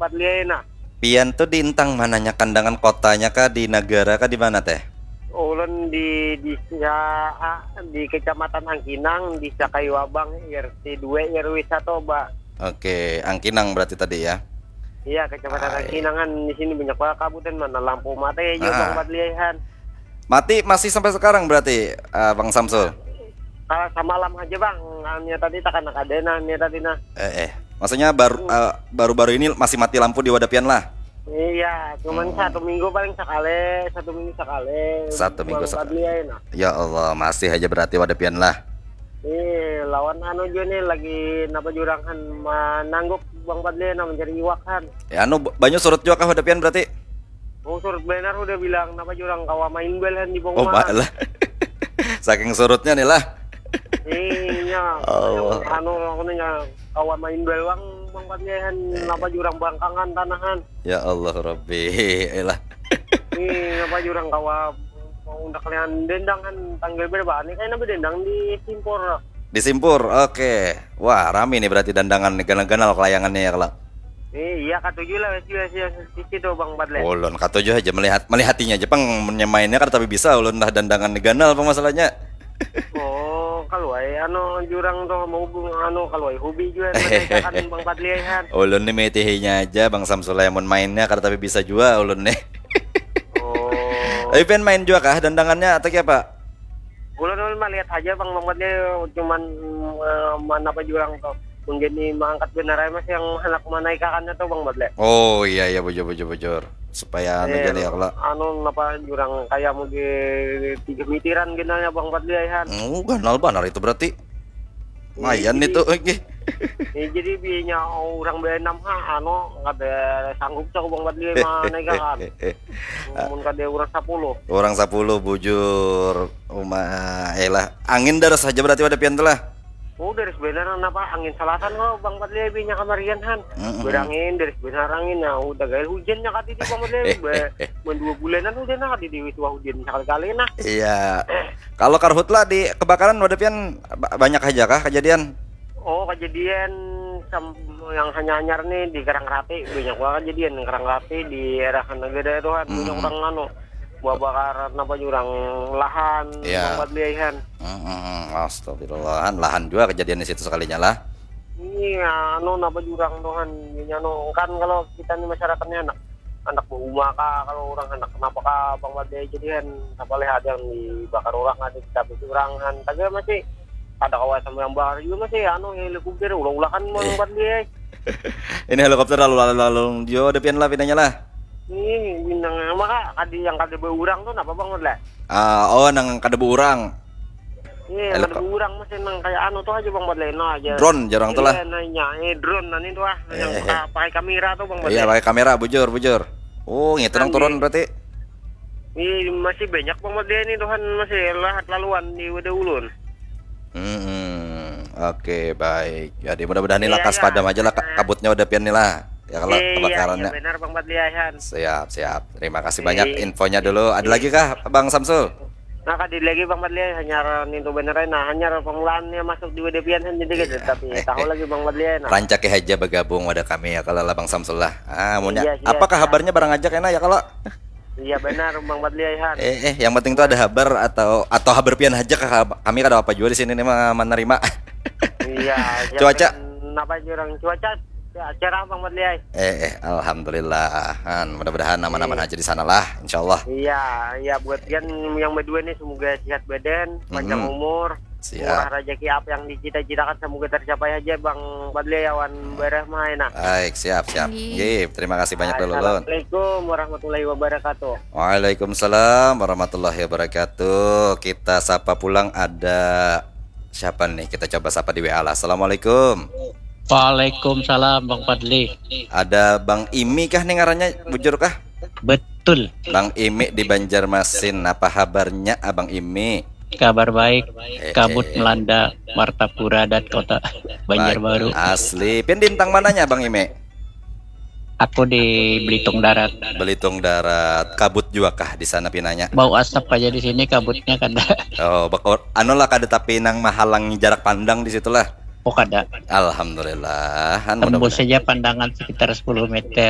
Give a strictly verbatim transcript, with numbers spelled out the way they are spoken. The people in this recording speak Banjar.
Bang Fadli ai nah. Pian tu di intang mananya, Kandangan kotanya kah, di nagara kah, di mana teh? Ulun di desa, ah, di Kecamatan Angkinang, Desa Kayu Abang, R T dua R W satu, Ba. Oke, Angkinang berarti tadi ya. Iya, Kecamatan Ai. Angkinang kan di sini banyak banget kabut dan mana lampu mati aja, Ah. Bang Fadli ai han. Mati masih sampai sekarang berarti, eh, Bang Samsul? Kalau samalam aja, Bang, hanya tadi tak kena kada nah, hanya tadi nah. Eh, eh. Maksudnya baru eh, baru-baru ini masih mati lampu di wadah pian lah. Iya, cuman Hmm. satu minggu paling sekali, satu minggu sekali. Satu minggu Bang sekali. Fadli ai nah. Ya Allah, masih aja berarti wadah pian lah. Ih, lawan anu juga nih lagi napa jurang han manangguk Bang Fadli nah mencari iwak han. Ya anu, banyu surut juga kah wadah pian berarti? Oh, surut benar udah bilang napa jurang kawa main bal han di Oh, pengumuman. Pak lah. Saking surutnya nih lah. Iya. Allah. Anu aku nih kawa main bal wang Bang Fadli han Eh. napa jurang bangkangan tanahan. Ya Allah Rabbi. Elah. Ih, napa jurang kawa mau undak lian dendang han tanggal berapa? Ini kayaknya napa dendang di Simpur. Di Simpur. Oke. Wah, rami nih berarti dandangan nih, ganal-ganal kelayangannya ya kalau. Eh, iya katuju lah wes wes wes sisi tuh Bang Fadli. Ulun katuju aja melihat melihatinya aja pang, nyemainnya kan tapi bisa ulun lah dandangan nih ganal apa masalahnya. Oh, kalau ai anu jurang tuh mau anu kalau ai hobi juga kan Bang Fadli ai han. Ulun nih metihinya aja Bang Samsul mun mainnya kada tapi bisa jua ulun nih. Oh. Tapi pian main juga kah dandangannya atau apa? Ulun ulun mah lihat aja Bang Bang Fadli cuman eh, mana apa jurang tuh. Mungkin ini mengangkat benar aja mas yang anak menaikakannya tuh Bang Fadli. Oh iya iya bujur bujur bujur. Supaya anu Eh, jadi ya kalau. Anu napa jurang kayak mau di tiga mitiran genalnya Bang Fadli ai han. Oh, ganal banar itu berarti. Mayan Jadi- itu oke. Ya, jadi biayanya orang beenam ha anu kada sanggup cak Bang Fadli menaikakan. Mun kada orang sepuluh. Orang sepuluh bujur. Uma elah. Angin daras saja berarti pada pian tuh lah. Oh, dari sebenarnya kenapa angin selatan kok Bang Fadli biayanya kamarian han. Mm-mm. Berangin dari sebenar angin nah udah gaya hujannya kati di Bang Fadli be- mun dua bulanan hujan nah kati di wis wah hujan sekali-kali nah. Iya. Kalau karhutla di kebakaran pada pian ba- banyak aja kah kejadian? Oh, kejadian sam- yang hanya-hanyar nih di Karang Rapi banyak banget kejadian Karang Rapi di daerah negara itu kan banyak Mm-mm. orang anu buah bakaran apa jurang lahan Iya. Bang Fadli ai han. Mm-mm. Astagfirullahan, lahan juga kejadian di situ sekalinya lah. Ini anu napa jurang tuh han ini anu kan kalau kita nih masyarakatnya anak anak berumah kah kalau orang anak kenapa kah Bang Fadli ai jadi han apa leh ada yang dibakar orang ada kita orang han tapi masih ada kawasan yang bakar juga masih anu helikopter ulah-ulahan Bang Eh. Fadli ai. Ini helikopter lalu lalu lalu jo ada pian lah pinanya lah. Ih, bintang maka kadi yang kada berurang tuh napa Bang Fadli? Ah, oh nang kada berurang. Iya, Elok kada berurang masih nang kayak anu tuh aja Bang Fadli no aja. Drone jarang tuh lah. Iya, nanya, eh drone nani tuh ah, yang Eh. pakai, pakai kamera tuh Bang Fadli. Iya pakai kamera bujur bujur. Oh ngitu nang Kan turun di- berarti. Iya, masih banyak Bang Fadli ini Tuhan masih lahat laluan di wadah ulun. Hmm, oke baik. Jadi mudah-mudahan ini Iya, lakas iya. padam aja lah ka- kabutnya udah pian nih lah. Ya kalau Iya, kebakarannya. Iya, benar Bang Fadli Aihan. Siap, siap. Terima kasih Iya. Banyak infonya dulu. Ada lagi kah Bang Samsul? Nah, kadi lagi Bang Fadli hanyar nintu bener nah hanyar pengulaannya masuk di wadah pian jadi Iya. Tapi tahu lagi Bang Fadli nah. Rancaki aja bergabung wadah kami ya kalau lah Bang Samsul lah. Ah, munya. Iya, siap, Apakah siap. Kabarnya barang aja kena ya kalau? Iya benar Bang Fadli Aihan. Eh, eh, yang penting tuh ada kabar atau atau kabar pian aja kah? Kami kada apa juga di sini nih mah menerima. Iya. Cuaca? Kenapa jurang cuaca? Ya, cerah Bang Fadli ai. Eh, eh, alhamdulillah. Han, mudah-mudahan aman-aman Iya. Aja di sana lah, insyaallah. Iya, iya buat pian yang berdua nih semoga sehat badan, panjang Mm-mm. Umur, Siap. Murah rezeki apa yang dicita-citakan semoga tercapai aja Bang Fadli awan barah mah nah. Baik, siap, siap. Nggih. Nggih, terima kasih banyak dulu Lun. Assalamualaikum warahmatullahi wabarakatuh. Waalaikumsalam warahmatullahi wabarakatuh. Kita sapa pulang ada siapa nih? Kita coba sapa di W A lah. Assalamualaikum. Waalaikumsalam Bang Fadli. Ada Bang Imi kah nih ngarannya? Bujur kah? Betul. Bang Imi di Banjarmasin. Apa kabarnya Abang Imi? Kabar baik. Eh, Kabut eh. Melanda Martapura dan Kota Banjarbaru. Asli. Pian di intang mananya Bang Imi? Aku di Belitung Darat. Belitung Darat. Kabut juga kah di sana pinanya? Bau asap aja di sini kabutnya kada. Oh, bakor anu lah kada tapi nang menghalangi jarak pandang di situlah. Oh kada. Alhamdulillah. Han, Tembus mudah-mudahan. Saja pandangan sekitar sepuluh meter.